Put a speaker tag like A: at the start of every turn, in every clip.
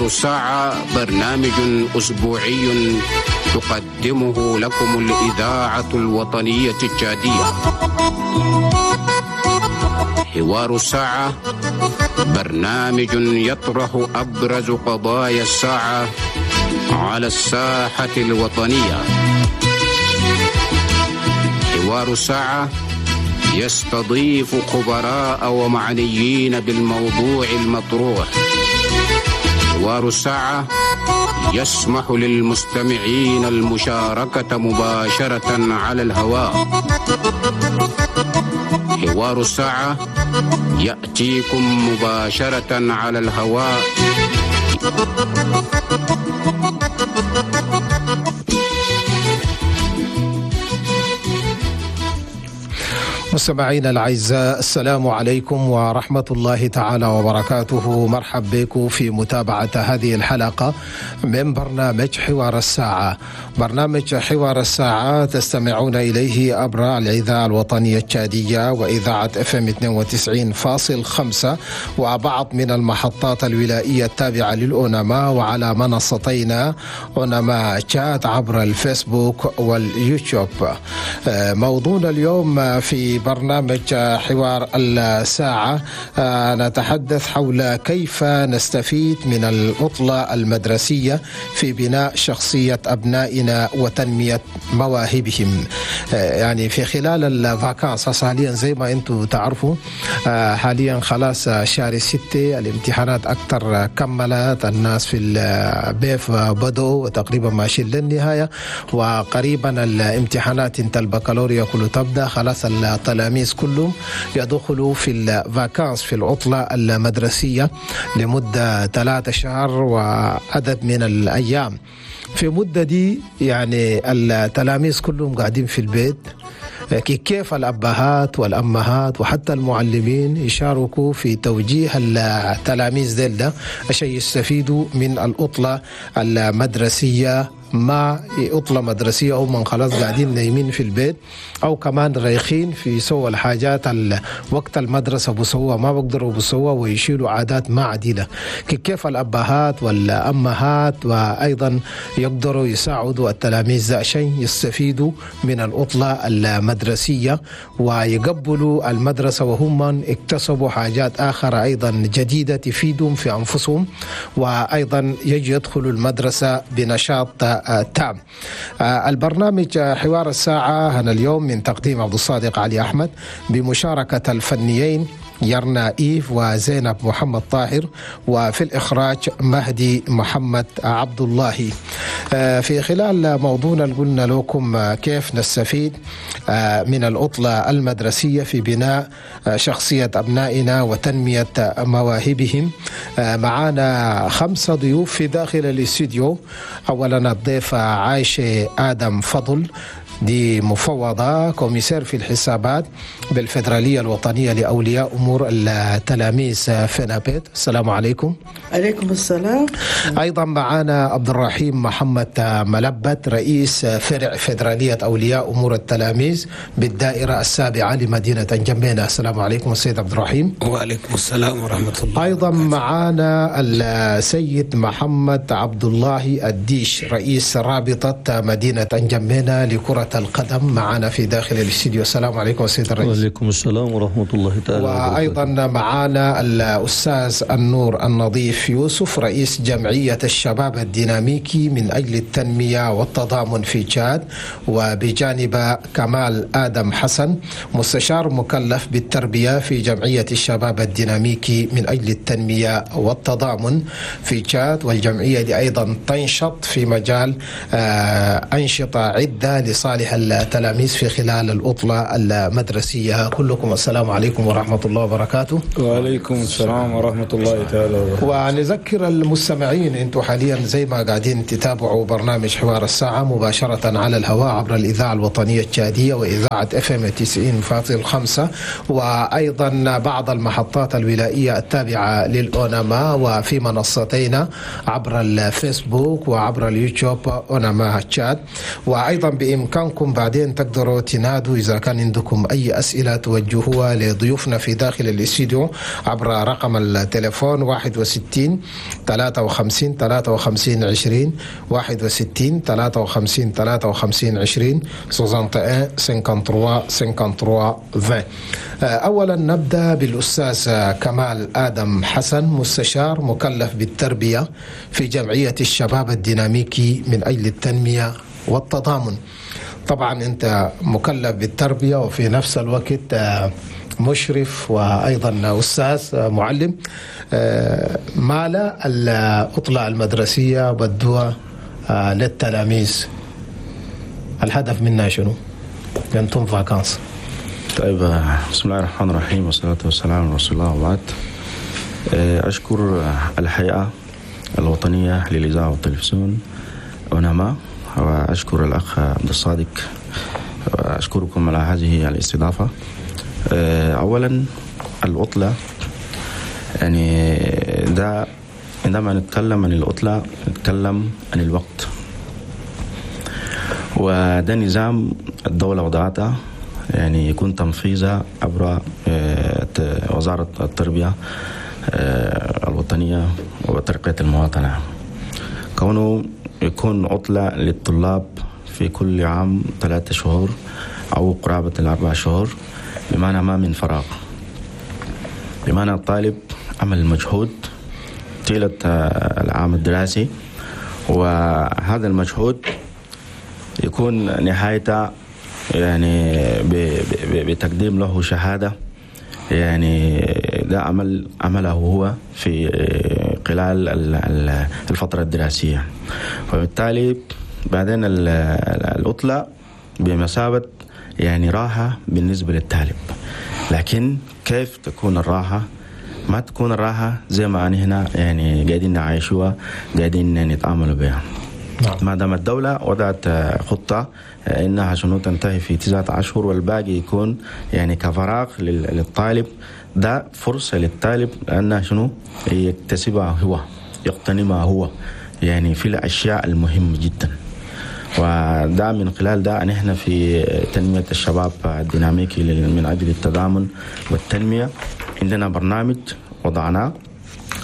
A: الساعة برنامج أسبوعي تقدمه لكم الإذاعة الوطنية التشادية. حوار الساعة برنامج يطرح أبرز قضايا الساعة على الساحة الوطنية. حوار الساعة يستضيف خبراء ومعنيين بالموضوع المطروح. حوار الساعة يسمح للمستمعين المشاركة مباشرة على الهواء. حوار الساعة يأتيكم مباشرة على الهواء.
B: مستمعينا الأعزاء، السلام عليكم ورحمة الله تعالى وبركاته. مرحب بكم في متابعة هذه الحلقة من برنامج حوار الساعة. برنامج حوار الساعة تستمعون إليه عبر الإذاعة الوطنية التشادية وإذاعة FM 92.5 وبعض من المحطات الولائية التابعة للأونما، وعلى منصتينا أونما تشاد عبر الفيسبوك واليوتيوب. موضوعنا اليوم في برنامج حوار الساعة نتحدث حول كيف نستفيد من العطلة المدرسية في بناء شخصية أبنائنا وتنمية مواهبهم. يعني في خلال ال vacances حاليا زي ما انتم تعرفوا، حاليا خلاص شهر 6 الامتحانات أكثر كملت، الناس في ال BEF بدوا وتقريبا ماشيين للنهاية، وقريبا الامتحانات انت البكالوريا كله تبدأ. خلاص التلاميذ كلهم يدخلوا في ال vacances في العطلة المدرسية لمدة 3 شهر وعدد من الأيام. في مدة دي يعني التلاميذ كلهم قاعدين في البيت، كيف الأبهات والأمهات وحتى المعلمين يشاركوا في توجيه التلاميذ ديل ده عشان يستفيدوا من العطلة المدرسية. ما عطلة مدرسية هم خلاص قاعدين نايمين في البيت أو كمان رايخين في سوى الحاجات وقت المدرسة بسوا ما بقدروا بسوا ويشيلوا عادات ما عديلة. كيف الأبهات والأمهات وأيضا يقدروا يساعدوا التلاميذ عشان يستفيدوا من العطلة المدرسية ويقبلوا المدرسة وهم اكتسبوا حاجات آخرى أيضا جديدة تفيدهم في أنفسهم، وأيضا يجي يدخلوا المدرسة بنشاط تام. البرنامج حوار الساعة هنا اليوم من تقديم عبد الصادق علي أحمد بمشاركة الفنيين يرنا إيف وزينب محمد طاهر، وفي الإخراج مهدي محمد عبد الله. في خلال موضوعنا قلنا لكم كيف نستفيد من العطلة المدرسية في بناء شخصية أبنائنا وتنمية مواهبهم. معانا 5 ضيوف في داخل الاستوديو. أولا الضيفة عائشة آدم فضل، دي مفوضة commissaire في الحسابات بالفدرالية الوطنية لأولياء أمور التلاميذ FENAPED. السلام عليكم.
C: عليكم السلام.
B: أيضا معنا عبد الرحيم محمد ملبت، رئيس فرع فدرالية أولياء أمور التلاميذ بالدائرة السابعة لمدينة انجمينا. السلام عليكم السيد عبد الرحيم.
D: وعليكم السلام ورحمة الله.
B: أيضا معنا السيد محمد عبد الله الديش، رئيس رابطة مدينة انجمينا لكرة القدم، معنا في داخل الاستديو. السلام عليكم سيد الرئيس.
E: وعليكم السلام ورحمة الله تعالى.
B: وأيضا معنا الأستاذ النور النظيف يوسف، رئيس جمعية الشباب الديناميكي من أجل التنمية والتضامن في تشاد، وبجانب كمال آدم حسن، مستشار مكلف بالتربية في جمعية الشباب الديناميكي من أجل التنمية والتضامن في تشاد. والجمعية دي أيضا تنشط في مجال أنشطة عدة لصالح التلاميذ في خلال العطلة المدرسية. كلكم السلام عليكم ورحمة الله وبركاته.
F: وعليكم السلام ورحمة الله تعالى وبركاته.
B: ونذكر المستمعين انتم حاليا زي ما قاعدين تتابعوا تتابعوا برنامج حوار الساعة مباشرة على الهواء عبر الإذاعة الوطنية التشادية وإذاعة FM 90.5، وأيضا بعض المحطات الولائية التابعة للأوناما، وفي منصتينا عبر الفيسبوك وعبر اليوتيوب أوناما تشاد. وأيضا بإمكانكم بعدين تقدروا تنادوا إذا كان عندكم أي أسئلة توجهوها لضيوفنا في داخل الاستديو عبر رقم التليفون 61 53 53 20، 61 53 53 20، 61 53 53 20. أولا نبدأ بالأستاذ كمال آدم حسن، مستشار مكلف بالتربية في جمعية الشباب الديناميكي من أجل التنمية والتضامن. طبعا أنت مكلف بالتربية وفي نفس الوقت مشرف وأيضا أستاذ معلم. مالا العطلة المدرسية بدوها للتلاميذ، الهدف منها شنو؟ أنتم vacances.
C: طيب، بسم الله الرحمن الرحيم والصلاة والسلام على رسول الله وبعد. أشكر الهيئة الوطنية للإذاعة والتلفزيون أوناما، وأشكر الأخ عبد الصادق، وأشكركم على هذه الاستضافة. أولا العطلة، يعني ده عندما نتكلم عن العطلة نتكلم عن الوقت، وده نظام الدولة وضعته، يعني يكون تنفيذه عبر وزارة التربية الوطنية وترقية المواطنة، كونه يكون عطلة للطلاب في كل عام 3 شهور أو قرابة 4 شهور، بمعنى ما من فراغ، بمعنى الطالب عمل مجهود طيلة العام الدراسي، وهذا المجهود يكون نهايته يعني بتقديم له شهادة، يعني ده عمله هو في خلال الفترة الدراسية. وبالتالي بعدين العطلة بمثابة يعني راحة بالنسبة للطالب، لكن كيف تكون الراحة؟ ما تكون الراحة زي ما هنا يعني قاعدين نعيشوها، قاعدين نتعاملوا بها. نعم. ما دام الدولة وضعت خطة إنها شنو تنتهي في 9 أشهر والباقي يكون يعني كفراغ للطالب، ده فرصة للطالب أنه شنو يكتسبها هو، يقتنمها هو، يعني في الأشياء المهمة جدا. وده من خلال ده نحن في تنمية الشباب الديناميكي من أجل التضامن والتنمية عندنا برنامج وضعناه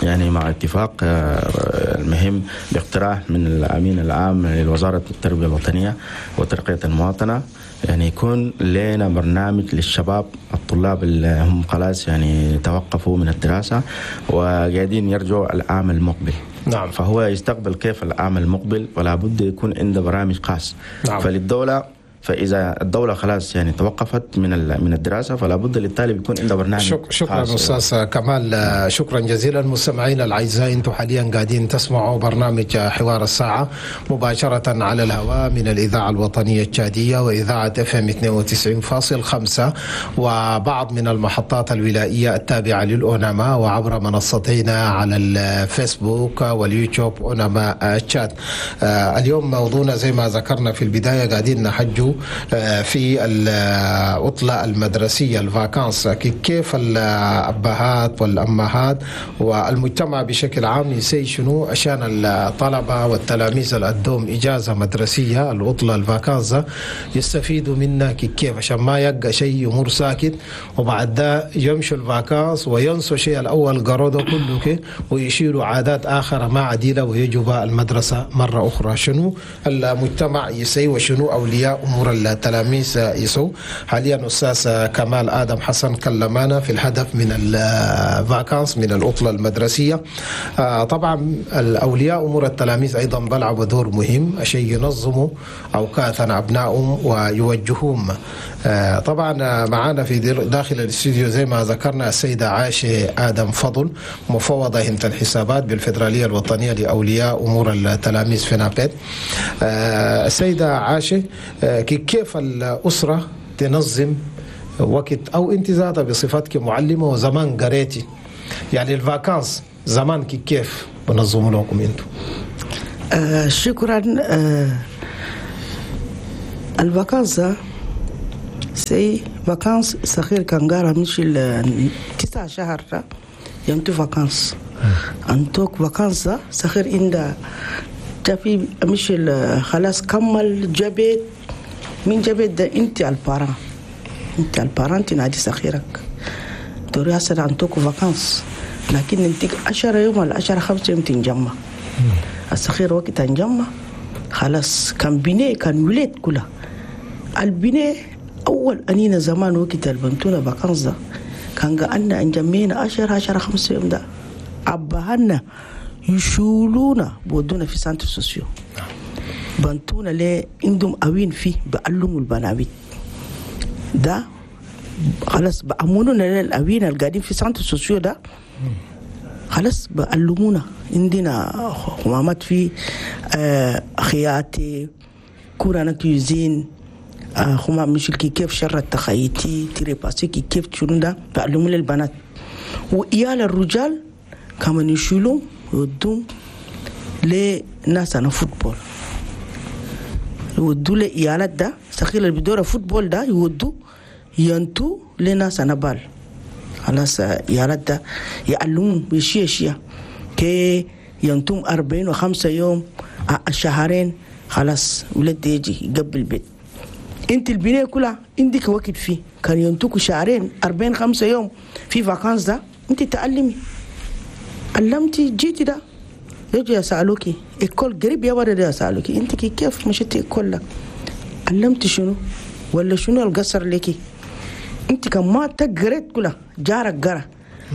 C: يعني مع اتفاق المهم باقتراح من الأمين العام لوزارة التربية الوطنية وترقية المواطنة، يعني يكون لنا برنامج للشباب الطلاب اللي هم خلاص يعني توقفوا من الدراسة وقاعدين يرجعوا العام المقبل. نعم. فهو يستقبل كيف العام المقبل، ولا بد يكون عنده برامج خاص. نعم. فللدولة، فإذا الدولة خلاص يعني توقفت من الدراسة فلا بد للطالب يكون عنده برنامج.
B: شكرا أستاذ كمال، شكرا جزيلا. مستمعينا الأعزاء، أنتم حاليا قاعدين تسمعوا برنامج حوار الساعة مباشرة على الهواء من الإذاعة الوطنية التشادية وإذاعة FM 92.5 وبعض من المحطات الولائية التابعة للأوناما، وعبر منصتينا على الفيسبوك واليوتيوب أوناما تشاد. اليوم موضوعنا زي ما ذكرنا في البداية قاعدين نحجو في العطلة المدرسية ال vacances، كيف الأبهات والأمهات والمجتمع بشكل عام يسي شنو عشان الطلبة والتلاميذ اللي عندهم إجازة مدرسية العطلة ال vacances يستفيدوا منها كيف، عشان ما يبقى شيء يمر ساكت وبعد ده يمشوا ال vacances وينسوا شيء الأول قروا ده كله ويشيلوا عادات آخر ما عديلة ويجوا المدرسة مرة أخرى. شنو المجتمع يسي وشنو أولياء أمور التلاميذ يسو؟ حاليا أستاذ كمال آدم حسن كلمانا في الهدف من ال vacances من العطلة المدرسية. طبعا الأولياء أمور التلاميذ أيضا بلعبوا دور مهم عشان ينظموا أوقاتنا أبنائهم ويوجهوهم. طبعا معانا في داخل الاستوديو زي ما ذكرنا السيدة عائشة آدم فضل، مفوضة هنت الحسابات بالفدرالية الوطنية لأولياء أمور التلاميذ في نابت. السيدة عائشة، كيف الأسرة تنظم وقت، أو أنت ذاتها بصفتك معلمة وزمان قريتي يعني ال vacances زمان كيف بنظموا لكم أنتم؟
F: شكرا. ال vacances c'est vacances صغير كان قارا مش 9 شهر يمتو vacances انتوك vacances صغير عند جافي مش خلاص كمل جابت من جابت ده انت ال parent، انت ال parent تنادي صغيرك توري هسه انتوك vacances، لكن انت 10 يوم ولا 10 5 يوم تنجمع الصغير. وقت تنجمع خلاص، كان بني كان ولاد كلها البناء. أول أنينا زمان وقت البنتونا vacances ده كان قعدنا انجمينا 10 10 5 يوم ده أبهنا يشولونا بودونا في centres sociaux، بنتونا ليه عندهم أوين فيه بعلموا البناويت ده. خلاص بأمنونا للأوين القاعدين في centres sociaux ده، خلاص بعلمونا. عندنا خمامات في خياطي cours هنا cuisine، خما مش كيف شرط تخيتي تريباسي كيف شنو ده بعلموا للبنات. وإيال الرجال كمان يشيلوا يودوم لناس انا football، يودوا لإيالات ده سخيل اللي بيدور football ده يودوا ينتو لناس انا balle. خلاص إيالات ده يعلمون بشيء اشياء كي ينتم 45 يوم، شهرين، خلاص ولد يجي يقبل البيت. انت البنية كلها عندك وقت فيه كان ينتوك شهرين، 45 يوم في vacances ده انت تعلمي. علمتي جيتي ده يجي يسألوكي école قريب يا ولد، يسألوكي انت كيف مشيتي école ده؟ علمتي شنو ولا شنو القصر لك؟ انت كان ما تقريت كلها جارك قرا،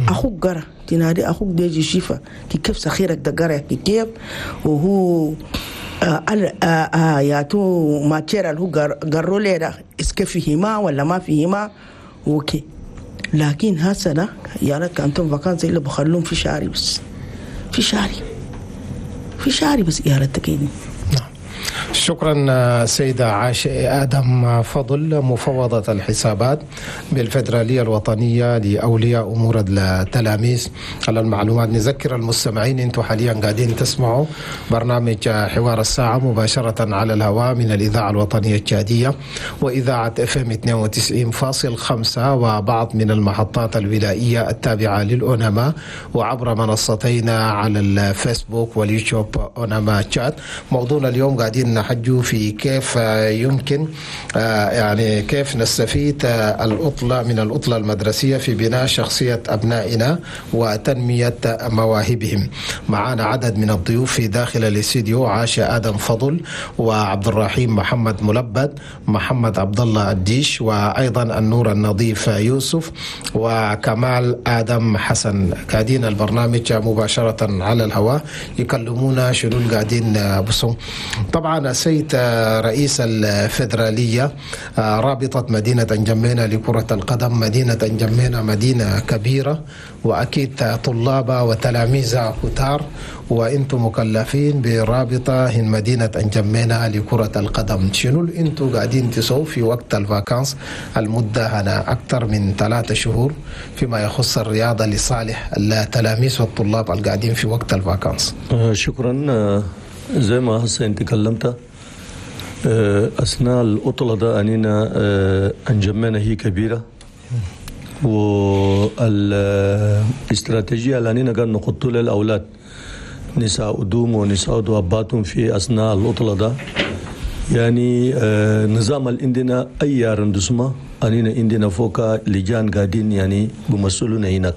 F: اخوك قرا، تنادي اخوك ده يجي شيفا كيف صغيرك ده قرا كيف وهو ياتو matière اللي هو قروا لي ده est-ce que فيهما ولا ما فيهما. OK، لكن هسه ده يا ريت كانتم vacances اللي بخلوهم في شهري بس، في شهري، في شهري بس يا ريت تكيني.
B: شكرا سيدة عاشة آدم فضل، مفوضة الحسابات بالفدرالية الوطنية لأولياء أمور التلاميذ، على المعلومات. نذكر المستمعين أنتم حاليا قاعدين تسمعوا برنامج حوار الساعة مباشرة على الهواء من الإذاعة الوطنية التشادية وإذاعة FM 92.5 وبعض من المحطات الولائية التابعة للأوناما، وعبر منصتينا على الفيسبوك واليوتيوب أوناما تشاد. موضوعنا اليوم قاعدين نحجوا في كيف يمكن يعني كيف نستفيد العطلة من العطلة المدرسية في بناء شخصية أبنائنا وتنمية مواهبهم. معنا عدد من الضيوف في داخل الاستديو: عاشة آدم فضل، وعبد الرحيم محمد ملبد، محمد عبد الله الديش، وأيضا النور النظيف يوسف، وكمال آدم حسن. قاعدين البرنامج مباشرة على الهواء يكلمونا شنو قاعدين بصوا. طبعا السيد رئيس الفدرالية رابطة مدينة أنجمينا لكرة القدم، مدينة أنجمينا مدينة كبيرة وأكيد طلاب وتلاميذ كتار، وانتم مكلفين برابطة هن مدينة أنجمينا لكرة القدم. شنو انتم قاعدين تسووا في وقت ال vacances المدة هنا أكثر من 3 شهور فيما يخص الرياضة لصالح التلاميذ والطلاب القاعدين في وقت ال vacances؟
E: شكرا. زي ما هسه انت كلمت، اثناء العطلة ده انينا انجمينا هي كبيره، والاستراتيجيه اللي انينا قاعد نحطه للاولاد نساعدوهم ونساعدوا اباتهم في اثناء العطلة ده، يعني نظام اللي عندنا اي arrondissement انينا عندنا فوق لجان قاعدين يعني بمثلونا هناك.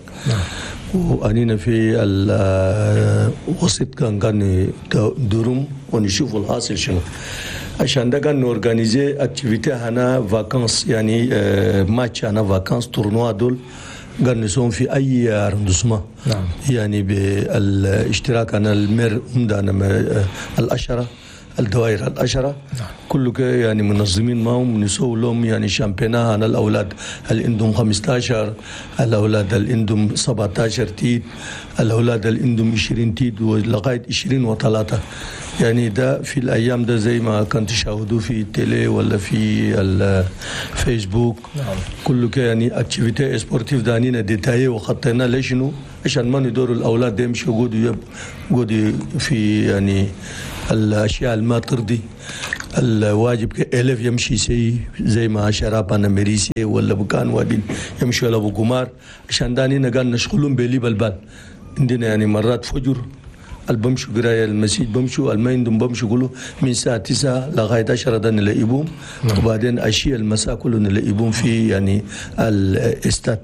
E: وأنينا في الوسط كان كان ندورهم ونشوف الحاصل شنو، عشان ده كان ن organiser activité هنا vacances، يعني ماتش هنا vacances، tournoi دول كان نسوم في اي arrondissement. يعني بالاشتراك انا ال maire عندنا الاشره الدوائر العشرة. كله يعني منظمين معهم نسوي لهم يعني championnat هنا الأولاد اللي عندهم 15، الأولاد اللي عندهم 17 تيت، الأولاد اللي عندهم 20 تيت ولغاية 20 وثلاثة. يعني ده في الأيام ده زي ما كنت تشاهدوا في ال télé ولا في الفيسبوك. كله يعني activité sportive ده أنينا détaillé وخطينا لشنو. عشان ما ندور الاولاد يمشوا يقعدوا في يعني الاشياء اللي ما ترضي الواجب. élève يمشي سي زي ما شراب انا مريسي ولا بكان وادين يمشوا ولا بقمار، عشان داني قال نشغلهم بلي بالبال عندنا يعني مرات فجر البمشوا قرايه المسجد بمشوا الما عندهم بمشوا يقولوا من الساعة 9 لغاية 10 ده نلاقيهم، وبعدين اشياء المساء كله نلاقيهم في يعني الاستاد.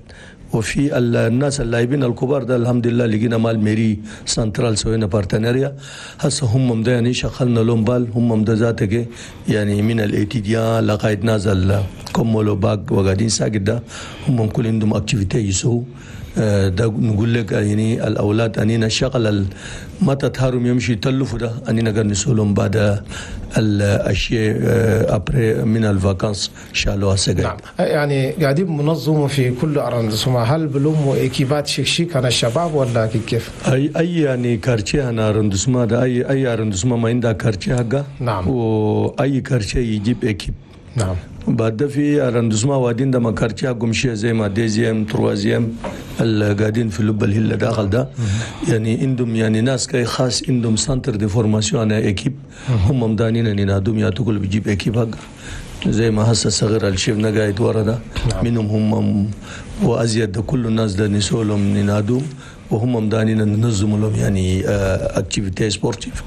E: وفي الناس اللاعبين الكبار ده الحمد لله لقينا مع ال mairie centrale سوينا partenariat، هسه هم ده يعني شغلنا لهم بال هم ده ذاتك يعني من ال étudiants لغاية نازل كملوا باك وقاعدين ساكت ده هم كل عندهم activité يسووا ده. نقول لك يعني الاولاد انينا شغل ما تتهرم يمشي يتلفوا ده انينا قاعد نسولهم بعد الاشياء après من ال vacances شالوها سجل.
B: نعم يعني قاعدين منظموا في كل arrondissement، هل بلوموا équipe ات شيك انا الشباب ولا كيف؟
E: اي يعني quartier انا arrondissement ده اي arrondissement ما عندها quartier حقه.
B: نعم.
E: واي quartier يجيب équipe.
B: نعم.
E: بعد في arrondissement وادين ده ما quartier حقهم شيء زي ما deuxième troisième اللي قاعدين في لب الهله داخل ده يعني عندهم يعني ناس كي خاص عندهم centre de formation انا équipe هم مدانين ينادوم يا تقول بيجيب équipe حق زي ما هسه الصغير اللي شفنا قاعد ورا ده.
B: نعم.
E: منهم هم وازيد ده كل الناس ده نسولهم ننادوم وهم مدانين ننظموا لهم يعني activité sportive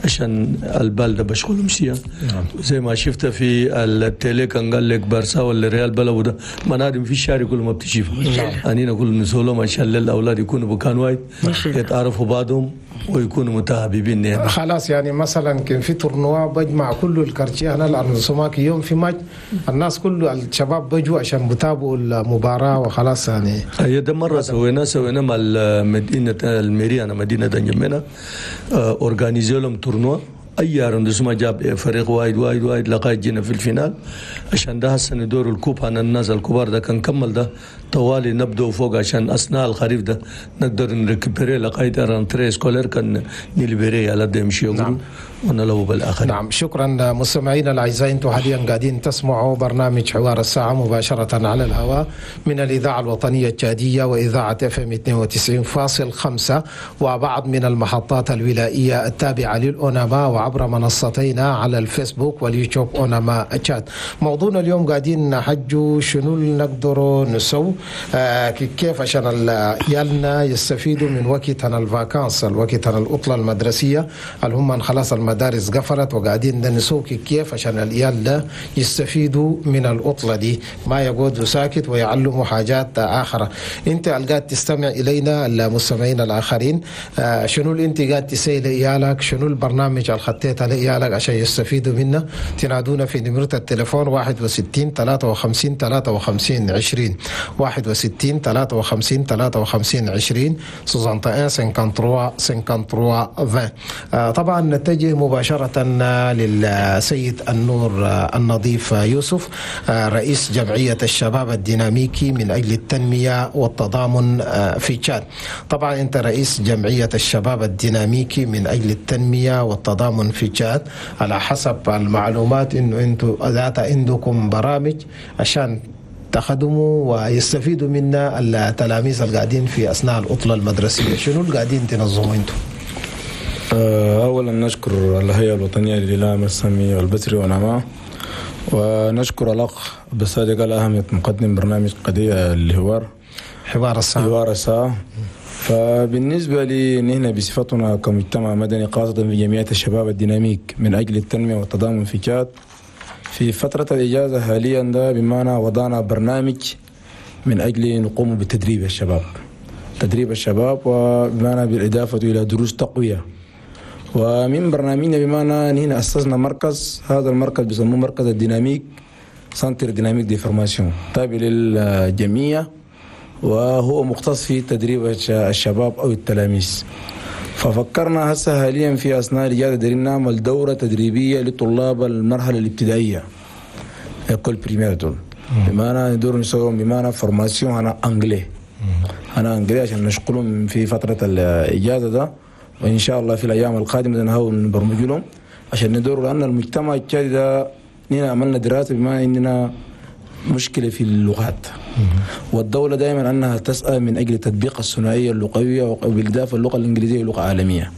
E: عشان البال ده بشغلهم سيا.
B: نعم.
E: زي ما شفت في ال télé كان قال لك بارسا ولا ريال بلو ده منادم في الشارع كله ما بتشوف.
B: نعم.
E: انينا كل نسولهم عشان للاولاد يكونوا بكان واحد يتعرفوا بعضهم ويكونوا متحاببين يعني.
B: خلاص يعني مثلا كان في tournoi بجمع كل ال quartier هنا ال arrondissement يوم في ماتش الناس كله الشباب بيجوا عشان بتابعوا المباراة وخلاص يعني.
E: هي ده مرة سوينا مع مدينة ال mairie انا مدينة انجمينا organisé لهم tournoi اي arrondissement جاب فريق وايد وايد وايد لغاية جينا في ال finale. عشان ده هسه ندور ال coupe عن الناس الكبار ده كان كمل ده طوالي نبدو فوق عشان اثناء الخريف ده نقدر ن récupérer لغاية rentrée scolaire كان ن libérer على ده يمشي.
B: نعم.
E: ونلعب بالاخر.
B: نعم شكرا مستمعينا الاعزاء، انتم حاليا قاعدين تسمعوا برنامج حوار الساعة مباشرة على الهواء من الاذاعة الوطنية التشاديه واذاعة FM 92.5 وبعض من المحطات الولائيه التابعة للاوناما وعبر منصتينا على الفيسبوك واليوتيوب اوناما تشاد. موضوعنا اليوم قاعدين نحجوا شنو اللي نقدروا نسو كيف عشان عيالنا يستفيدوا من وقتنا ال vacances، الوقت العطلة المدرسية اللي هم خلاص المدارس قفلت وقاعدين نسوق كيف عشان العيال ده يستفيدوا من العطلة دي، ما يقعدوا ساكت ويعلموا حاجات اخرى. انت القاعد تستمع الينا المستمعين الاخرين، شنو اللي انت قاعد تسوي لعيالك؟ شنو البرنامج اللي خطيته لعيالك عشان يستفيدوا منه؟ تنادونا في نمره التليفون 61 53 53 20 61 53 53 20 61 53 53 20. طبعا نتجه مباشرة للسيد النور النظيف يوسف، رئيس جمعية الشباب الديناميكي من أجل التنمية والتضامن في تشاد. طبعا أنت رئيس جمعية الشباب الديناميكي من أجل التنمية والتضامن في تشاد، على حسب المعلومات أنه أنتم ذات عندكم برامج عشان تخدموا ويستفيدوا منا التلاميذ القاعدين في أثناء العطلة المدرسية. شنو القاعدين تنظموا أنتم؟
G: أولا نشكر الهيئة الوطنية للإعلام السمعي والبصري ونما، ونشكر الأخ بالصادق الأهمية مقدم برنامج قضية الحوار
B: حوار الساعة
G: حوار الساعة. فبالنسبة لي نحن بصفتنا كمجتمع مدني خاصة في جمعية الشباب الديناميك من أجل التنمية والتضامن في تشاد، في فترة الإجازة حاليا ده بمعنى وضعنا برنامج من أجل نقوم بتدريب الشباب، تدريب الشباب وبمعنى بالإضافة إلى دروس تقوية. ومن برنامجنا بمعنى نحن أسسنا مركز، هذا المركز بيسموه مركز الديناميك، centre dynamique de formation، تابع للجمعية، وهو مختص في تدريب الشباب أو التلاميذ. ففكرنا هسه حاليا في أثناء الإجازة دايرين نعمل دورة تدريبية لطلاب المرحلة الابتدائية école primaire دول، بمعنى ندور نسوي بمعنى formation أنا anglais، أنا anglais عشان نشغلهم في فترة الإجازة ده، وإن شاء الله في الأيام القادمة نحاول نبرمج لهم عشان ندور، لأن المجتمع التشادي ده نحن عملنا دراسة بما إننا مشكلة في اللغات. والدولة دائما أنها تسعى من أجل تطبيق الثنائية اللغوية، وبالإضافة اللغة الإنجليزية لغة عالمية.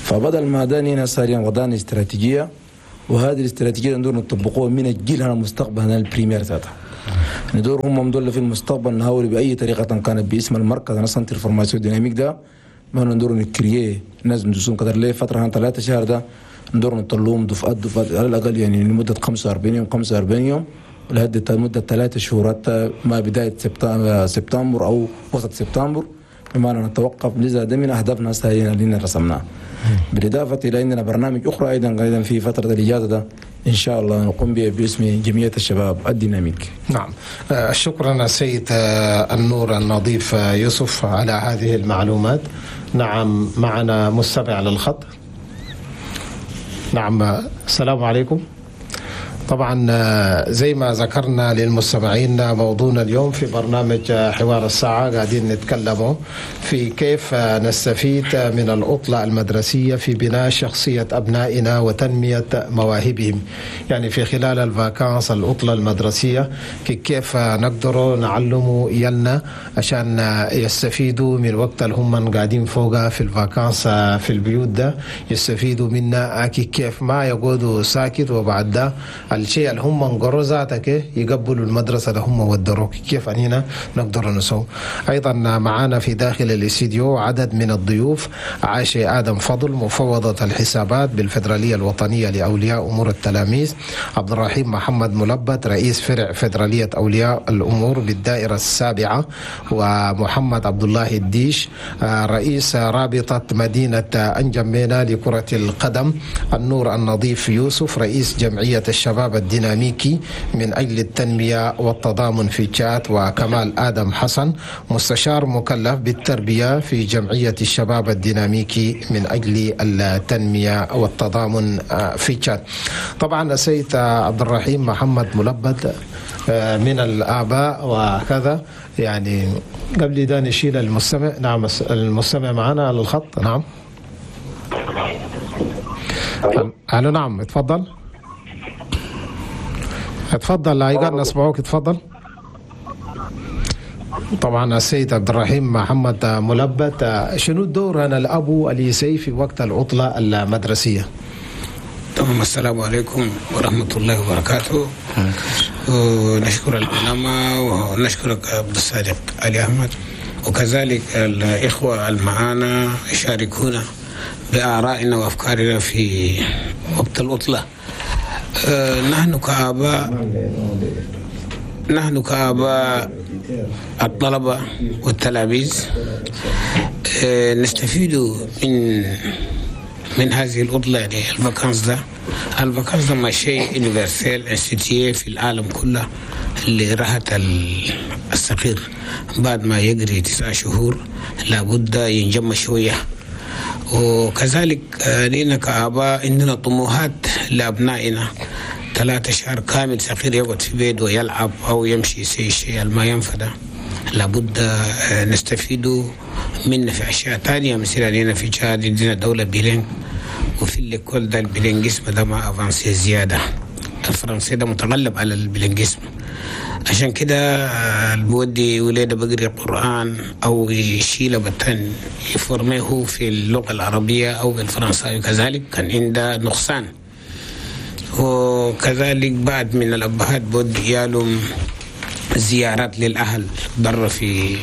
G: فبدل ما دانينا ساريا وضعنا استراتيجية، وهذه الاستراتيجية ندور نطبقوها من الجيل هنا المستقبل هنا ال primaire ذاتها. ندور هم مدول في المستقبل نحاول بأي طريقة كانت باسم المركز أنا centre formation dynamique ده ما ندور ن créer ناس ندوسون قدر ليه فترة هنا 3 شهر ده ندور نطلوهم دفعات دفعات على الأقل يعني لمدة 45 يوم 45 يوم لهذه مدة 3 شهور حتى ما بداية سبتمبر أو وسط سبتمبر، بمعنى نتوقف. لذا ده من أهدافنا السهلين اللي رسمناها. بالإضافة إلى أننا برنامج أخرى أيضا في فترة الإجازة ده إن شاء الله نقوم به باسم جمعية الشباب الديناميك.
B: نعم، شكرا السيد النور النظيف يوسف على هذه المعلومات. نعم، معنا مستمع للخط. نعم، السلام عليكم. طبعا زي ما ذكرنا للمستمعين موضوعنا اليوم في برنامج حوار الساعة قاعدين نتكلموا في كيف نستفيد من العطلة المدرسية في بناء شخصية أبنائنا وتنمية مواهبهم. يعني في خلال ال vacances العطلة المدرسية كيف نقدر نعلموا يلنا عشان يستفيدوا من الوقت اللي هم قاعدين فوقها في ال vacances في البيوت ده، يستفيدوا منا كيف ما يقعدوا ساكت وبعد ده الشيء اللي هم انقروا ذاتك يقبلوا المدرسة اللي هم ودروك، كيف أننا نقدر نسوي. أيضا معانا في داخل الاستديو عدد من الضيوف: عائشة آدم فضل مفوضة الحسابات بالفدرالية الوطنية لأولياء أمور التلاميذ، عبد الرحيم محمد ملبت رئيس فرع فدرالية أولياء الأمور بالدائرة السابعة، ومحمد عبد الله الديش رئيس رابطة مدينة أنجمينا لكرة القدم، النور النظيف يوسف رئيس جمعية الشباب الديناميكي من أجل التنمية والتضامن في تشاد، وكمال آدم حسن مستشار مكلف بالتربية في جمعية الشباب الديناميكي من أجل التنمية والتضامن في تشاد. طبعا السيد عبد الرحيم محمد ملبد من الآباء وكذا، يعني قبل ده نشيل المستمع. نعم، المستمع معنا على الخط. نعم، ألو. نعم، اتفضل اتفضل، ايضا نسمعوك، اتفضل. طبعا السيد عبد الرحيم محمد ملبت، شنو الدور انا الابو اليسي في وقت العطلة المدرسية؟
D: تمام، السلام عليكم ورحمة الله وبركاته. ونشكر العلماء ونشكرك عبد الصادق علي احمد، وكذلك الاخوة المعانا يشاركونا بارائنا وافكارنا في وقت العطلة. نحن كآباء الطلبة والتلاميذ نستفيد من هذه العطلة، يعني ال vacances ده. ال vacances ده ما شيء universel institué في العالم كله اللي راحت الصغير بعد ما يجري 9 شهور لابد ينجم شوية. وكذلك لنا كآباء عندنا طموحات لأبنائنا، 3 شهر كامل صغير يقعد في بيته ويلعب أو يمشي شيء ما ينفذ، لابد نستفيد منه في أشياء تانية. مثلا لنا في تشاد عندنا دولة bilingue، وفي l'école ده ال bilinguisme ده ما avancé زيادة، الفرنسي ده متغلب على ال bilinguisme. عشان كده البودي وليده بقري قرآن أو يشيله بتن يفرميه في اللغة العربية أو بالفرنساوي، كذلك كان عنده نقصان. وكذلك بعد من الأبهات بود يالهم زيارات للأهل برا في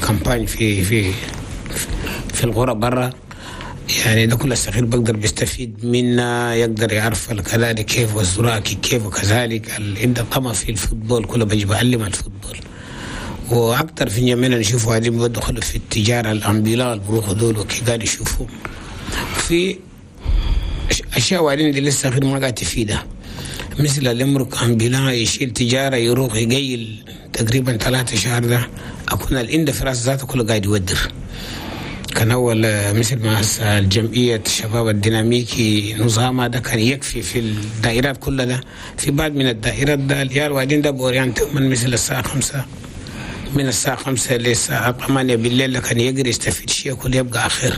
D: campagne في في في الغرة برا، يعني ده كل الصغير بقدر بيستفيد منا، يقدر يعرف كذلك كيف والزراعة كيف، وكذلك عنده طمع في ال football كله بيجي بعلم ال football. واكثر في يمنا نشوفوا هذه بدخلوا في التجارة ال ambulant بروحوا دول وكي قاعد يشوفوا في اشياء وبعدين دي لسه غير ما قاعد تفيدها، مثل الامرك ambulant يشيل تجارة يروح يقيل تقريبا 3 شهر ده اكون الإند في راس ذاته كله قاعد يودر. كان أول مثل ما الجمعية الشباب الديناميكي نظامها ده كان يكفي في الدائرات كلها ده، في بعض من الدائرات ده اليار وبعدين ده ب orienté من مثل الساعة 5، من الساعة 5 للساعة 8 بالليل كان يقدر يستفيد شيء كله يبقى آخر.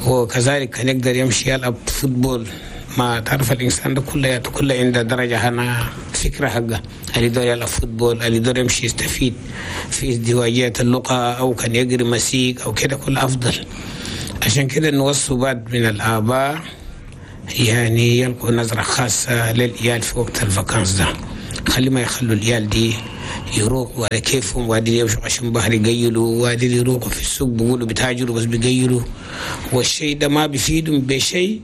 D: وكذلك كان يقدر يمشي يلعب football ما تعرف الانسان ده كله عنده درجه هنا فكرة حقه، اللي يدور يلعب football، اللي يدور يمشي يستفيد في ازدواجية اللغة، او كان يقري مسيك او كده، كله افضل. عشان كده نوصوا بعض من الاباء يعني يلقوا نظره خاصة للعيال في وقت ال vacances ده، خلي ما يخلوا العيال دي يروقوا على كيفهم، وادي يمشوا عشان بحر يقيلوا، وادي يروقوا في السوق بيقولوا بتاجروا بس بيقيلوا، والشيء ده ما بيفيدهم بشيء،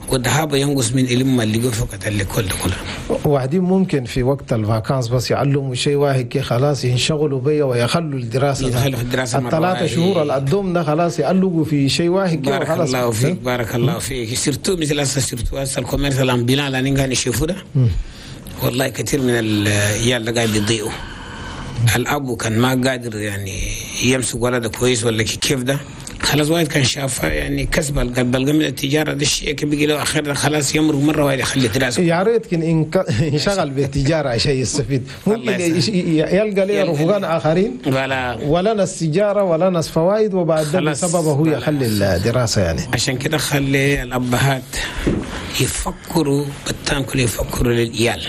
D: والذهاب ينقص من علم اللي فقط اللي كل كله.
B: وبعدين ممكن في وقت ال vacances بس يعلموا شيء واحد كي خلاص ينشغلوا بيه ويخلوا الدراسة،
D: يدخلوا في الدراسة
B: الثلاثة شهور القدوم ده خلاص يعلقوا في شيء واحد كي
D: بارك
B: وخلاص.
D: الله فيك، بارك الله فيك. surtout مثل هسه surtout هسه ال commerce ال ambulant اللي قاعد نشوفه ده، والله كثير من العيال ده قاعد بيضيعوا. الاب كان ما قادر يعني يمسك ولده كويس ولا كيف ده، خلاص واحد كان شافه يعني كسب بلقى من التجارة ده الشيء بيجي له اخر خلاص يمرق مرة واحدة يخلي دراسة.
B: يا ريت كان انشغل بالتجارة عشان يستفيد، ممكن يلقى لي رفقان اخرين ولا ناس تجارة ولا ناس فوائد، وبعد ده بسببه هو يخلي الدراسة يعني.
D: عشان كده خلي الابهات يفكروا بالتام كله، يفكروا للعيال،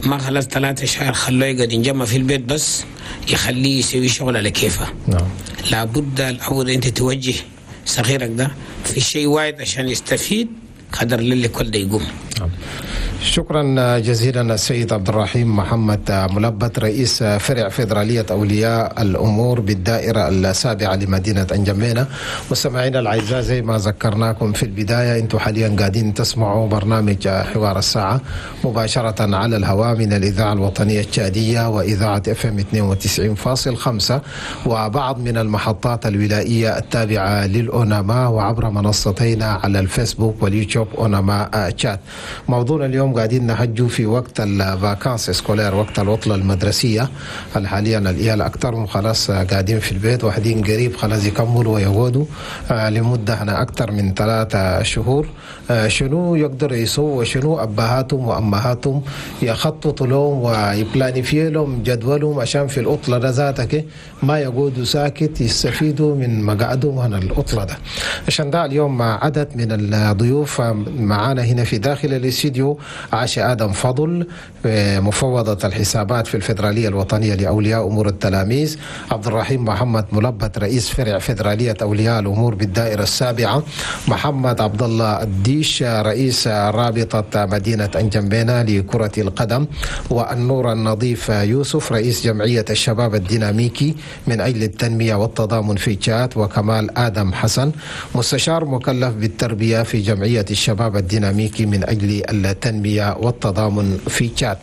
D: ما خلاص 3 شهور خلوه يقعد ينجمع في البيت بس، يخليه يسوي شغل على كيفه.
B: نعم.
D: لابد الأول أنت توجه صغيرك ده في شيء واحد عشان يستفيد قدر للي كل ده يقوم.
B: نعم. شكرا جزيلا السيد عبد الرحيم محمد ملبت، رئيس فرع فيدرالية أولياء الأمور بالدائرة السابعة لمدينة أنجمينة. مستمعينا الأعزاء، زي ما ذكرناكم في البداية، أنتم حاليا قاعدين تسمعوا برنامج حوار الساعة مباشرة على الهواء من الإذاعة الوطنية التشادية وإذاعة FM 92.5 وبعض من المحطات الولائية التابعة للأوناما، وعبر منصتينا على الفيسبوك واليوتيوب أوناما تشاد. موضوعنا اليوم قاعدين نحجوا في وقت ال vacances scolaires، وقت العطلة المدرسية. حاليا العيال أكثرهم خلاص قاعدين في البيت، واحدين قريب خلاص يكملوا ويقعدوا لمدة هنا أكثر من 3 شهور. شنو يقدر يسووا، وشنو أبهاتهم وأمهاتهم يخططوا لهم وي planifier لهم جدولهم عشان في العطلة ده ذاتك ما يقعدوا ساكت، يستفيدوا من مقعدهم هنا العطلة ده. عشان ده اليوم مع عدد من الضيوف معانا هنا في داخل الاستديو: عاشة آدم فضل، مفوضة الحسابات في الفيدرالية الوطنية لأولياء أمور التلاميذ، عبد الرحيم محمد ملبت، رئيس فرع فيدرالية أولياء الأمور بالدائرة السابعة، محمد عبد الله الديش، رئيس رابطة مدينة أنجمينة لكرة القدم، والنور النظيف يوسف، رئيس جمعية الشباب الديناميكي من أجل التنمية والتضامن في تشاد، وكمال آدم حسن، مستشار مكلف بالتربية في جمعية الشباب الديناميكي من أجل التنمية والتضامن في تشاد.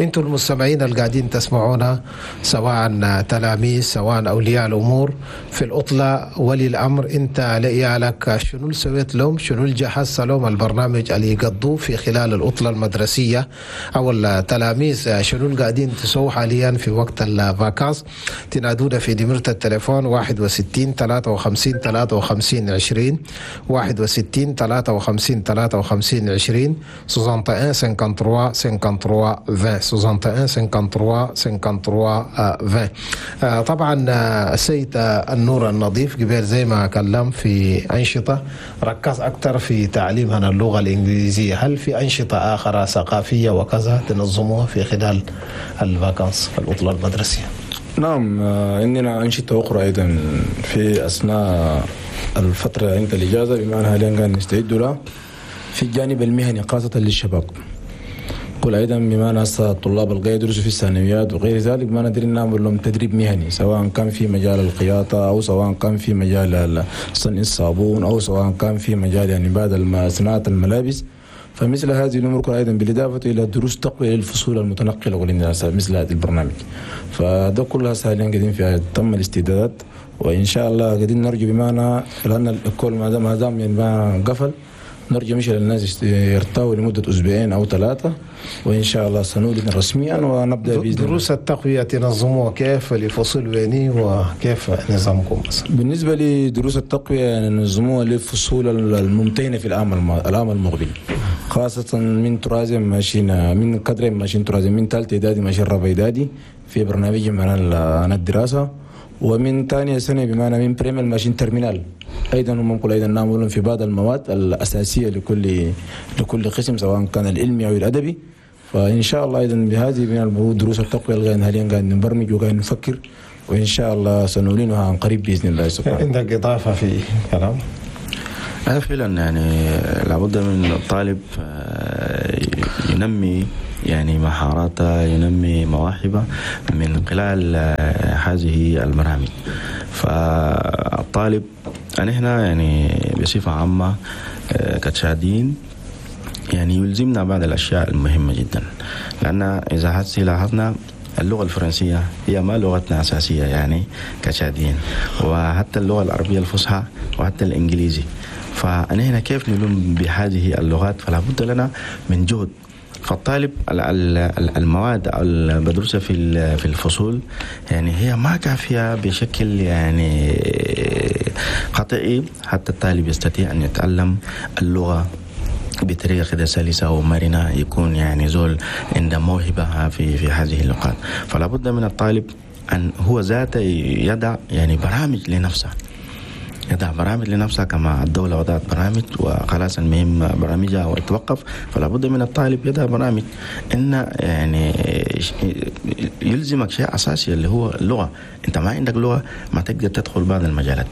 B: انتم المستمعين القاعدين تسمعونا، سواء تلاميذ سواء أولياء الأمور في العطلة، ولي الأمر انت لعيالك شنو اللي سويت لهم، شنو اللي جهزت لهم البرنامج اللي يقضوه في خلال العطلة المدرسية، أو التلاميذ شنو اللي قاعدين تسووا حاليا في وقت ال vacances. تنادونا في نمرة التليفون 61 53 53 20، 61 53 53 20، 61 53 53 20، 61 53 53 20. طبعا السيد النور النظيف قبل زي ما كلم في أنشطة ركز أكثر في تعليمنا اللغة الإنجليزية، هل في أنشطة آخرى ثقافية وكذا تنظموها في خلال ال vacances العطلة المدرسية؟
G: نعم، عندنا أنشطة أخرى أيضا في أثناء الفترة عند الإجازة، بمعنى حاليا قاعد نستعد لها في الجانب المهني خاصة للشباب. قل أيضا بما هسه الطلاب الغير يدرسوا في الثانويات وغير ذلك، ما ندري نعمل لهم تدريب مهني، سواء كان في مجال الخياطة أو سواء كان في مجال صنع الصابون أو سواء كان في مجال يعني بعد صناعة الملابس. فمثل هذه الأمور أيضا بالإضافة إلى دروس تقوية للفصول المتنقلة مثل هذا البرنامج. فده كلها حاليا قاعدين فيها، تم الاستعدادات وإن شاء الله قاعدين نرجو بمعنى لأن الكل ما دام يعني ما قفل، نرجو مش للناس يرتاحوا لمدة 2 أو 3 أسابيع، وإن شاء الله سنولد رسميا ونبدأ بإذن الله.
B: دروس التقوية تنظموها كيف للفصول ويني وكيف نظامكم مثلا؟
G: بالنسبة لدروس التقوية يعني ننظموها للفصول الممتهنة في العام المقبل، خاصة من troisième ماشيين، من quatrième ماشيين troisième، من ثالث إعدادي ماشيين رابع إعدادي في برنامج معنا الدراسة. ومن ثانية سنة بمعنى من première ماشيين terminale ايضا ممكن ايضا نعمل في بعض المواد الاساسية لكل قسم، سواء كان العلمي او الادبي. فان شاء الله ايضا بهذه من دروس التقويه اللي حاليا قاعد نبرمج وقاعد نفكر، وان شاء الله سنعلنها عن قريب باذن الله سبحانه.
B: عندك اضافه في كلام؟
C: فعلا يعني لابد من الطالب ينمي يعني مهاراته، ينمي مواهبه من خلال هذه البرامج. فالطالب نحن يعني بصفة عامة كتشادين يعني يلزمنا بعض الأشياء المهمة جدا، لأن إذا هسي لاحظنا اللغة الفرنسية هي ما لغتنا أساسية يعني كتشادين، وحتى اللغة العربية الفصحى وحتى الإنجليزي. فنحن كيف نلم بهذه اللغات؟ فلا بد لنا من جهد. فالطالب المواد اللي بدرسها في الفصول يعني هي ما كافية بشكل يعني قطعي حتى الطالب يستطيع أن يتعلم اللغة بطريقة كده سلسة ومرنة، يكون يعني زول عنده موهبة في هذه اللغات. فلا بد من الطالب أن هو ذاته يضع يعني برامج لنفسه، يضع برامج لنفسها كما الدولة وضعت برامج وخلاص المهم برامجها ويتوقف. فلا بد من الطالب يضع برامج إن يعني يلزمك شيء أساسي اللي هو اللغة. أنت ما عندك لغة ما تقدر تدخل بعض المجالات.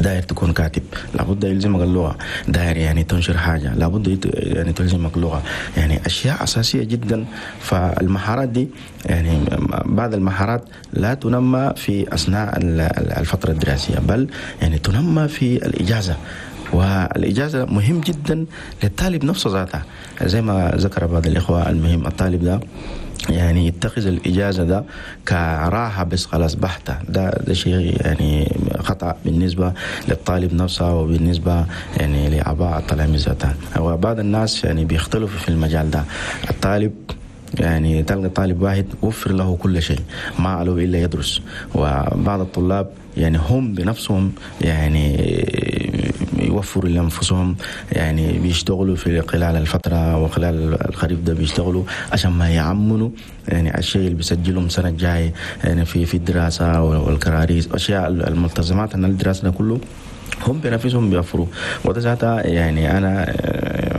C: داير تكون كاتب لابد يلزمك اللغة، داير يعني تنشر حاجة لابد يعني تلزمك لغة، يعني أشياء أساسية جدا. فالمهارات دي يعني بعض المهارات لا تنمى في أثناء الفترة الدراسية، بل يعني تنمى في الإجازة. والإجازة مهم جدا للطالب نفسه ذاته، زي ما ذكر بعض الإخوة، المهم الطالب ده يعني يتخذ الإجازة ده كراحة بس خلاص بحتة، ده شيء يعني خطأ بالنسبة للطالب نفسه وبالنسبة يعني لآباء التلاميذ ذاتهم. وبعض الناس يعني بيختلفوا في المجال ده. الطالب يعني تلقى طالب واحد وفر له كل شيء ما عليه إلا يدرس، وبعض الطلاب يعني هم بنفسهم يعني يوفروا لأنفسهم، يعني بيشتغلوا في خلال الفترة وخلال الخريف ده بيشتغلوا عشان ما يعملوا يعني الشيء اللي بيسجلهم سنة الجاي يعني في الدراسة والكراريس أشياء الملتزمات أن الدراسة ده كله هم بنفسهم بيوفروا. وده ذاتها يعني أنا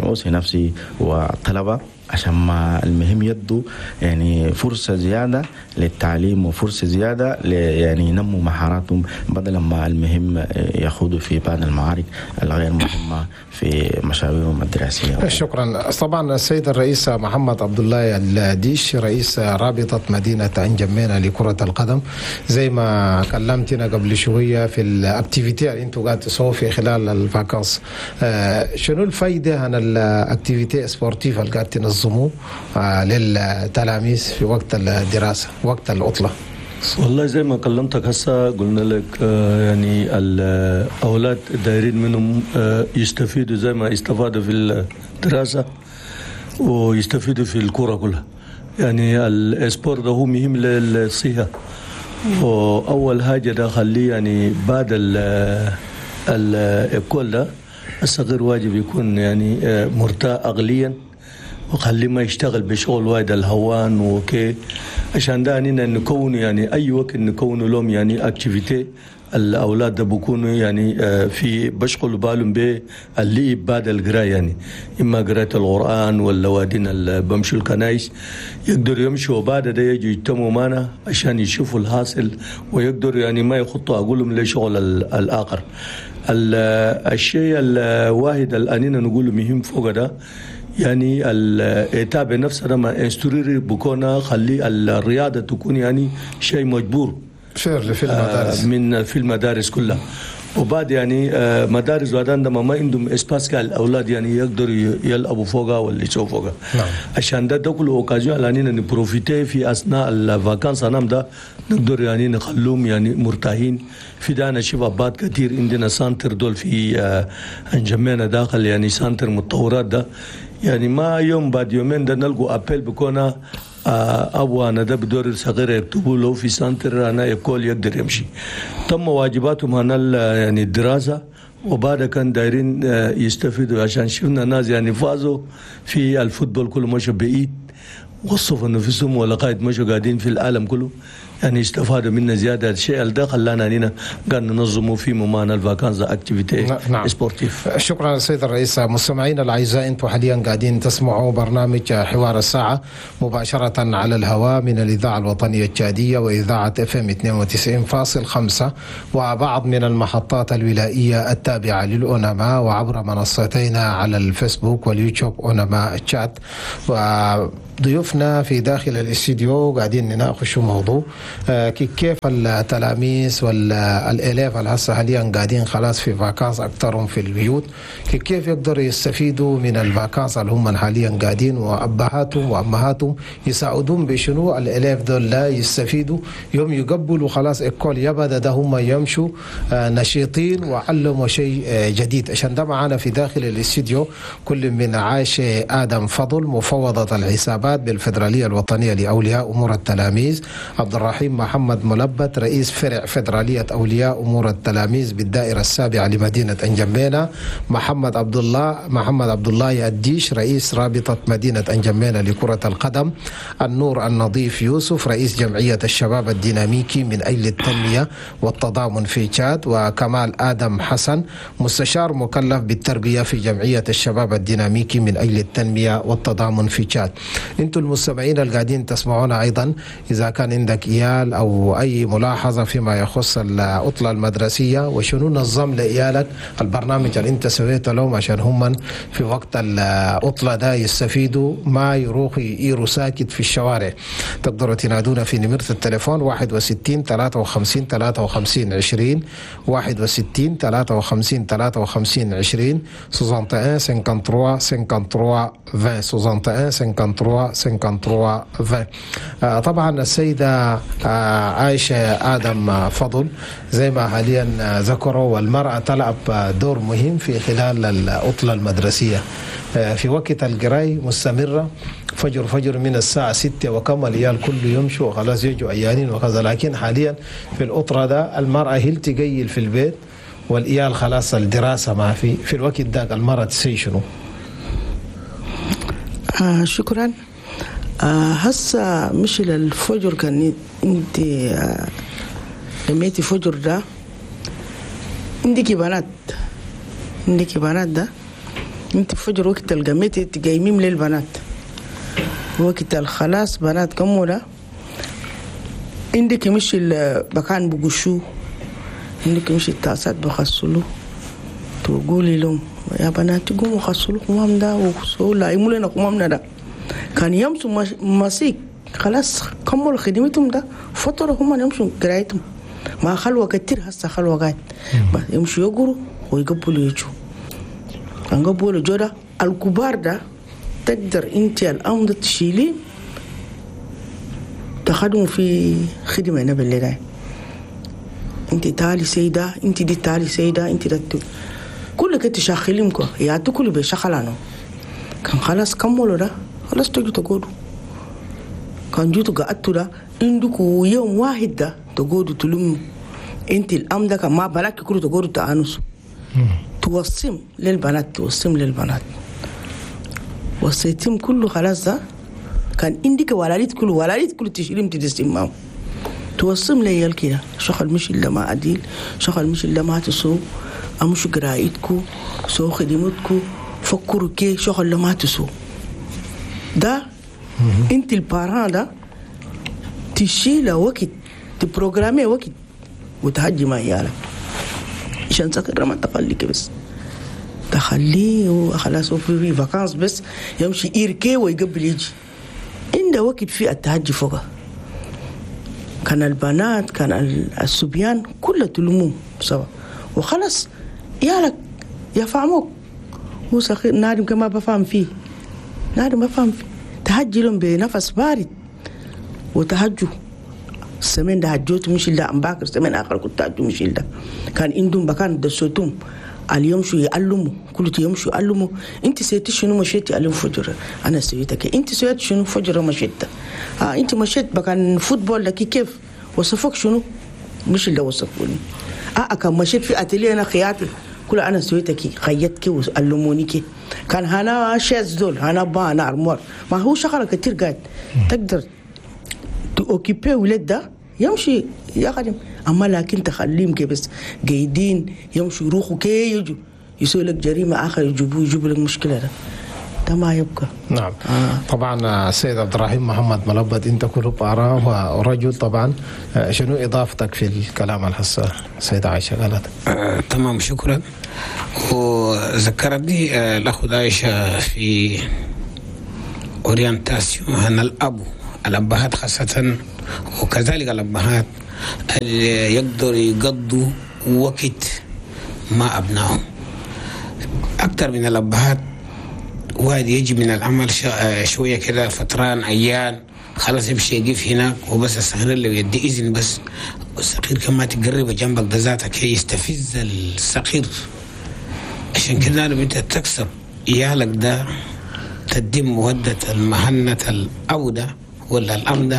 C: أوصي نفسي والطلبة عشان ما المهم يدوا يعني فرصة زيادة للتعليم وفرصة زيادة يعني ينموا مهاراتهم، بدل ما المهم يخوضوا في بعض المعارك الغير مهمة في مشاويرهم الدراسية.
B: شكرا. طبعا السيد الرئيس محمد عبد الله الديش رئيس رابطة مدينة انجمينا لكرة القدم، زي ما كلمتنا قبل شوية في ال activités اللي انتم قاعد تسووا في خلال ال vacances، شنو الفايدة عن ال activités sportives اللي قاعد تنظموا للتلاميذ في وقت الدراسة وقت العطلة؟
E: والله زي ما كلمتك هسه قلنا لك يعني الأولاد دايرين منهم يستفيدوا زي ما استفادوا في الدراسة ويستفيدوا في الكرة كلها. يعني ال sport ده هو مهم للصحة، وأول حاجة ده خليه يعني بعد ال école ده الصغير واجب يكون يعني مرتاح عقليا، وخليه ما يشتغل بشغل وايد الهوان وكي، عشان ده اننا نكون يعني اي وقت نكون لهم يعني activité الاولاد ده بيكونوا يعني في بشغلوا بالهم باللي بعد القراية، يعني اما قراءة القران ولا وادين اللي بمشوا الكنايس يقدروا يمشوا، وبعد ده يجوا يجتمعوا معنا عشان يشوفوا الحاصل ويقدروا يعني ما يخطوا اقولهم لشغل الاخر. الشيء الواحد اللي اننا نقوله مهم فوق ده يعني ال État بنفسه لما instruire بكونا خلي الرياضة تكون يعني شيء مجبور
B: في المدارس
E: من في المدارس كلها. وبعد يعني مدارس وادان ما عندهم espace الاولاد يعني يقدروا يلعبوا فوقها ولا يسووا فوقها. نعم. عشان ده كله occasion لاننا ن profiter في اثناء ال vacances نام ده نقدر يعني نخلوهم يعني مرتاحين. في ده انا شوف ابات كثير عندنا centre دول في انجمينا داخل يعني centre متطورات ده، يعني ما يوم بعد يومين ده نلقوا appel بكونا أبو أنا ده بدور صغير يكتبوا له في centre أنا école يقدر يمشي. تم واجباتهم هنا يعني الدراسة، وبعد كان دايرين يستفيدوا عشان شفنا ناس يعني فازوا في ال football كله مشوا بعيد وصفوا نفسهم ولقايد مشوا قاعدين في العالم كله. يعني استفادوا منا زيادة. الشيء ده خلانا هنا قال ننظموا في moment ال vacances activités.
B: نعم.
E: sportives.
B: شكرا سيد الرئيس. مستمعينا الاعزاء، انتم حاليا قاعدين تسمعوا برنامج حوار الساعة مباشرة على الهواء من الاذاعة الوطنية التشاديه واذاعة FM 92.5 وبعض من المحطات الولائيه التابعة للأونما، وعبر منصتينا على الفيسبوك واليوتيوب أونما تشاد. وضيوفنا في داخل الاستديو قاعدين نناقشوا موضوع كيف التلاميذ وال élèves الهسه حاليا قاعدين خلاص في vacances، اكثرهم في البيوت، كيف يقدروا يستفيدوا من ال vacances اللي هم حاليا قاعدين، وابهاتهم وامهاتهم يساعدون بشنو ال élèves دول لا يستفيدوا يوم يقبلوا خلاص école يبدا ده هم يمشوا نشيطين وعلموا شيء جديد. عشان ده معنا في داخل الاستديو كل من عائشة آدم فضل، مفوضة الحسابات بالفدرالية الوطنية لأولياء أمور التلاميذ، عبد الرحيم محمد ملبت، رئيس فرع فدرالية أولياء أمور التلاميذ بالدائرة السابعة لمدينة أنجمينا، محمد عبد الله الديش، رئيس رابطة مدينة أنجمينا لكرة القدم، النور النظيف يوسف، رئيس جمعية الشباب الديناميكي من أجل التنمية والتضامن في تشاد، وكمال آدم حسن، مستشار مكلف بالتربية في جمعية الشباب الديناميكي من أجل التنمية والتضامن في تشاد. انتم المستمعين القاعدين تسمعونا أيضا، إذا كان عندك إيال أو أي ملاحظة فيما يخص العطلة المدرسية وشنو نظم لإيالك، البرنامج اللي انت سويته لهم عشان هم في وقت العطلة ده يستفيدوا، ما يروحوا يئيروا ساكت في الشوارع، تقدروا تنادونا في نمرة التليفون 61 53 53 20، 61 53 53 20، 61 53 53 20، 61 53 53 20. طبعا السيدة عائشة آدم فضل، زي ما حاليا ذكروا، والمرأة تلعب دور مهم في خلال العطلة المدرسية في وقت القراي مستمرة فجر فجر من الساعة 6 وكم العيال كله يمشوا وخلاص يجوا عيانين وكذا، لكن حاليا في العطلة ده المرأة هي تقيل في البيت والعيال خلاص الدراسة ما في. في الوقت ده المرأة تسوي شنو؟
F: شكرا. هسه مش للفجر، كان انت لميتي فجر ده عندك بنات، عندك بنات ده انت فجر وقت القميتي تقيميم للبنات، وقت الخلاص بنات كمولة عندك مش المكان بقشو، عندك مش التاسات بغسلوا، تقولي لهم يا بنات قوموا غسلوا قمام ده وغسلوا لا يموا لنا قمامنا ده. كان يمشوا مسيك خلاص كملوا خدمتهم ده فترة هم يمشوا قرايتهم، ما خلوة كتير هسه خلوة قاعد يمشوا يقروا ويقبلوا يجوا كان قبلوا جودا الكبار ده تقدر انت الامر تشيلي تخدموا في خدمة هنا بالليل، انت تعالي سيدة، انت دي تعالي سيدة، انت ده كل كنت شاخلينكم يا كل بشخلانو. كان خلاص كملوا ده خلاص تجوا تقعدوا، كان جيتوا قعدتوا ده عندكوا يوم واحد ده تقعدوا تلموا انت الام ده كان ما بالك كله تقعدوا تانسوا توصم للبنات، توصم للبنات وصيتهم كله خلاص ده كان عندك ولاليت كله ولاليت كله تشيلهم تدسمهم توصم ليال كده شغل مش إلا ما عديل، شغل مش إلا ما تسو أمشوا قرايتكو سو خدمتكو فكروا كي شغل ما تسو ده. انت ال parent ده تشيل وقت ت programmer وقت وتهجي مع عيالك عشان سكر ما تخليك بس تخليه وخلاص في vacances بس يمشي يركي ويقبل يجي عنده وقت في التهجي فوقه. كان البنات كان الصبيان كله تلموم سوا وخلاص يالك يفهموك، هو صغير نادم كما بفهم فيه، نادم بفهم فيه تهجي لهم بنفس بارد وتهجوا السمين ده هجوت مش إلا أمباكر سمين آخر كنت هجو مش إلا كان عندهم بكان دسوتهم اليوم شو يعلموا كل يوم شو يعلموا انت سويتي شنو مشيتي اليوم فجر انا سويتك انت سويت شنو فجر مشيت انت مشيت بكان football لك كيف وصفك شنو مش اللي وصفوني كان مشيت في اتيليه انا خياطي كل انا سويتك خيطك وعلموني كان هنا chaises دول هنا با انا ارموار ما هو شغله كتير قاعد تقدر ت occuper ولاد ده يمشي يخدم. اما لكن تخليهم كي بس قايدين يمشوا يروحوا كي يجوا يسوي لك جريمه اخر، يجيبوا يجيبوا لك مشكله، ده ما يبقى.
B: نعم. طبعا السيد عبد الرحيم محمد ملبد، انت كل parent ورجل طبعا، شنو اضافتك في الكلام الهسه السيدة عائشه قالت؟
D: تمام، شكرا. وذكرتني الأخت عائشة في orientation هنا الأبو، الأبهات خاصة، وكذلك الأمهات اللي يقدروا يقضوا وقت مع أبنائهم أكثر من الأبهات. واحد يجي من العمل شوية كده فتران، عيان، خلاص يمشي يقف هناك وبس. الصغير اللي يدي إذن بس، الصغير كما تقرب جنبك ده ذاتك يستفز الصغير. عشان كده لما انت تكسب عيالك ده تدم مودة المهنة الأب ده ولا الأم ده.